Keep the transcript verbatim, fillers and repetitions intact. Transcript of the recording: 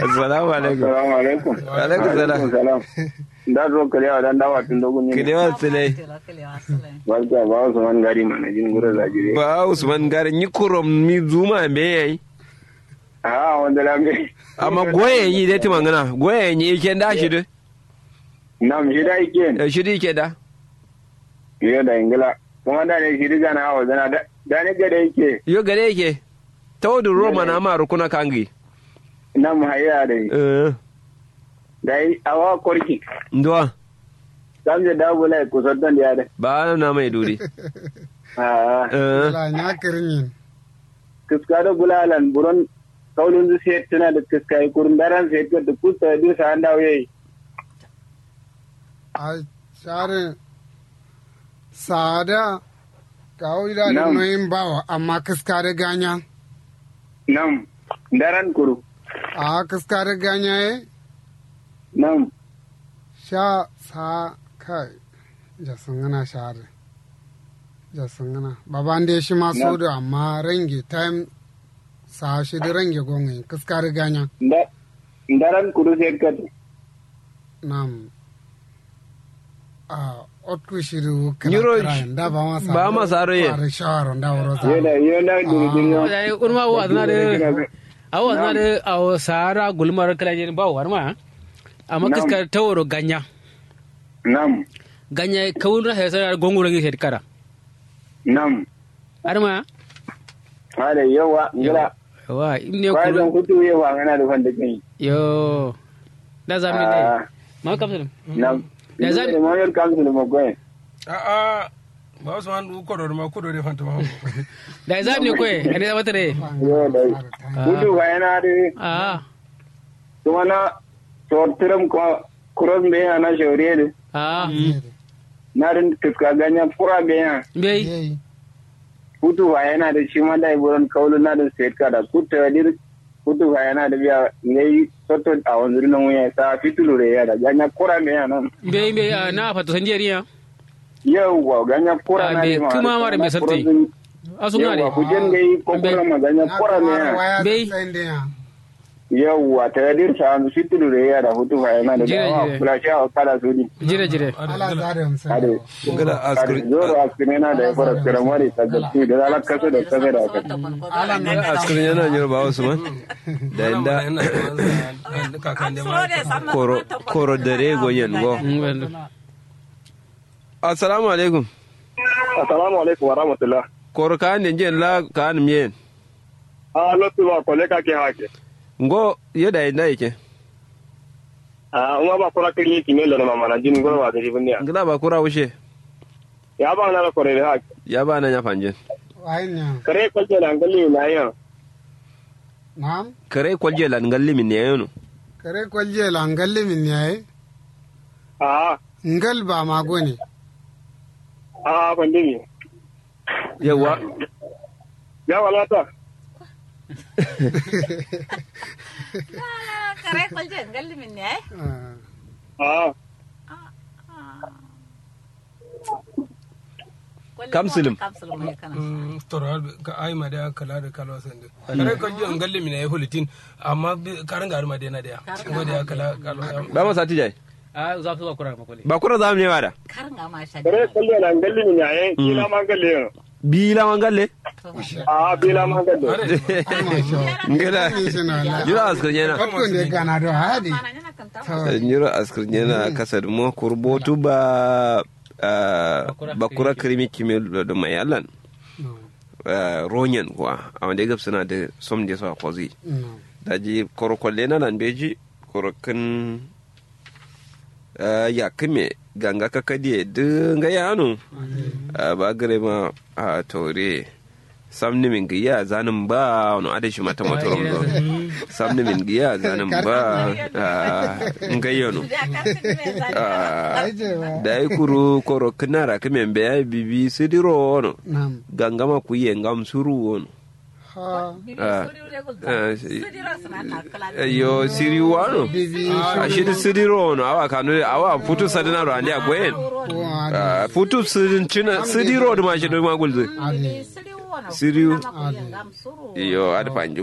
Assalamu alaikum. Assalamu alaikum. Wa alaikum salam. Alaikum salam. Nda zo kalewa dan dawa tun dogon ne. Kalewa tsilai. Barka ba Usman Gari mana jin gura zajire. Ba Usman Gari ni kurom ni zuma me yayi. A wanda la me. Amma goye yi dai tumangana goye yi ke nda shi dai. Nam shi da ike. Shi da ike da. Yo da ingila. Kuma da ne shi da gana hawa zana da ne gada ike. Yo gada ike. Tawdu ro mana ama rukuna kangi. Nam haya da yi. Eh. Da yi awa korki. Nduwa. Samje da bula ku sotton ya da. Ba na mai duri. Ah. Eh. La nya kirnyin. Kiska da bula lan buron kaulun zu set tana da kiska yi kurun daran set da kusa da sa anda yayi. A share saada kawo ida da noyin bawa amma kiska da ganya. Nam. Daran kuru. A kiska da ganya ye. Nam. Sha sa kai. Jasungana share. Jasungana babande shi ma sodo amma range time. Sa shi da range gonga yin kiska da ganya. Ndaran kudu sai katu. Nam. A otku shi da kira kira nda ba ma sa ba ma sa roye. Kwari shawaro nda wuro sa. Yona yona duru duru. Dai urma wa zana da awa zana da awa sahara gulmar kala jin ba war ma. Amma kiska tawaro ganya. Nam. Ganya kawun ra sai sai gongo range sai kara. Nam. Har ma. Hada yawa ngila. Yawa inne. Kwazon kutu yawa ngana da fanda kai. Yo. Da zamin ne. Ma kamsul. Nam. Da zamin ma yar kamsul ma goye. A a. Ba su hannu kodo ma kodo da fanta ma. Da zamin ne koye ade da matare. Yo da. Kutu bayana da. A. Kuma na tortiram ko kuros mbe yana shauriye da. A. Na din kiska ganya kura ganya. Mbe. Kutu fa yana da shi ma da iburon kaulu na da state kada kutu ya dir. Kutu fa yana da biya ngai soto a wanzuri na muya sa fitulu re ya da ganya kura mbe yana. Mbe mbe na fato sanjeriya. Yawwa ganya kura na mbe kuma mara mbe sartai. Asu ngare. Yawwa kujen ngai kokura ma ganya kura mbe yana. Mbe. Yawwa ta yadir sa an fitulu re ya da hutu fa yana da dawa kula sha kala sudi. Jire jire. Ala zare amsa. Ade. Ngala askir zoro askir yana da ya fara askir mari ta gaski da ala kasa da kasa da kasa. Ala ngala askir yana jiro ba usman. Da inda koro koro dare go yen go. Assalamu alaikum. Assalamu alaikum wa rahmatullah. Koro ka ande njen la ka an mien. A lottu ba kole kake hake. Ngo yeda inda yake. A uma ba kura kiri kime lo ma mana jin ngoro wa diri bunya. Ngila ba kura wushe. Ya ba na kore hake. Ya ba na nya fanjin. Kare kwalje na ngali na ya. Na'am. Kare kwalje la ngali min ya yono. Kare kwalje la ngali min ya. A ngal ba ma gone. A kwande mi. Yawwa. Yawwa lata. Kare kwalje ngalli min ne ai. A. Kamsilim. Toro ka ai ma da kala da kalwa sande. Kare kwalje ngalli min ai hulitin. Amma karin garu ma dena da ya. Ngo da ya kala kalwa. Ba ma sati jai. A za su ba kura ma kole. Ba kura za mu ne ba da. Kare kwalje na ngalli min ai. Kila ma ngalli. Bila mangalle. A bila mangalle. Ngila. Jura askar nyena. Jura askar nyena kasar mo kurbotu ba. Bakura kirimi kimi lodo mai allan. Ronyen kuwa a wanda ya gabsana da som da so a kozi. Daji koro kwalle na nan beji koro kin. Yakkǝme ganga kakadiye dǝ nga yano. Ba gǝre ma a taure. Sam nǝmin gǝyi a zanǝm ba wano adai shima tamo turon go. Sam nǝmin gǝyi a zanǝm ba. Nga yano. Dayi kuru koro kǝnara kǝmen beya bibi sǝdiro wono. Gangama kuye ngam suru wono. Yo siri wano. Ashiri siri ro wono awa kanu awa futu sadina ro andi agoyen. Futu sidin cina siri ro duma shi duma gulzi. Siri. Yo adfanji.